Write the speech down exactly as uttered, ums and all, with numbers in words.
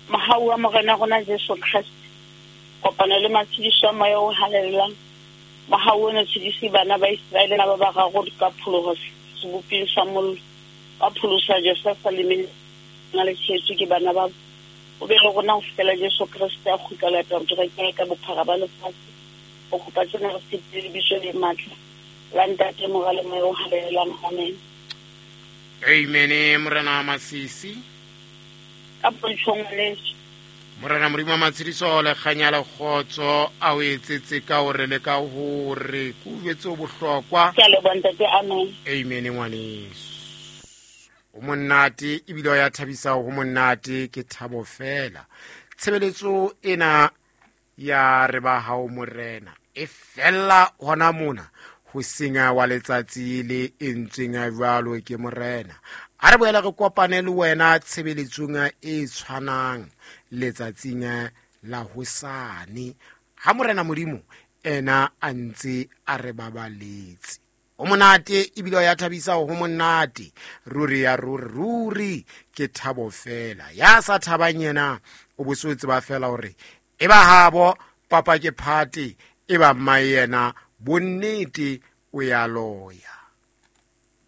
Mohau wa Morena rona Jesu Kreste, kopano le matshediso a Moya o Halalelang, mohau o no tshedise bana ba Iseraele ba bararo ka pholoho seboping sa mollo, ba pholosa Josefa le mena le tshehetswe ke bana ba o be le rona ho fihlela Jesu Kreste a kgutla lata kereke ka bophara ba lefatshe. O kopa tsena re tshepile lebitso le matla la Ntate, Mora le Moya o Halalelang. Amen. Amen. Morena Masisi ka pontshong ngwaneso. Morena Modimo wa matshediso le kganya le kgotso a o etsetse ka hore le ka hore ke o jwetse o bohlokwa. Ke a leboha ntate. Amen. Amen ngwaneso. O monate ebile o ya thabisa, ho monate ke thabo fela. Tshebeletso ena ya re ba hao Morena e fella hona mona ho senya wa letsatsi le entsweng jwalo ke Morena. A re boele re kopane le wena tshebeletsong e tshwanang letsatsing la hosane ha Morena Modimo ena a ntse a re babaletse. O monate ebile o ya thabisa, ho monate ruri ya ruri ruri ke thabo fela. Ya sa thabang yena o bo se o tseba fela hore e ba habo papa ke phate, e ba mmae yena bonnete o ya loya.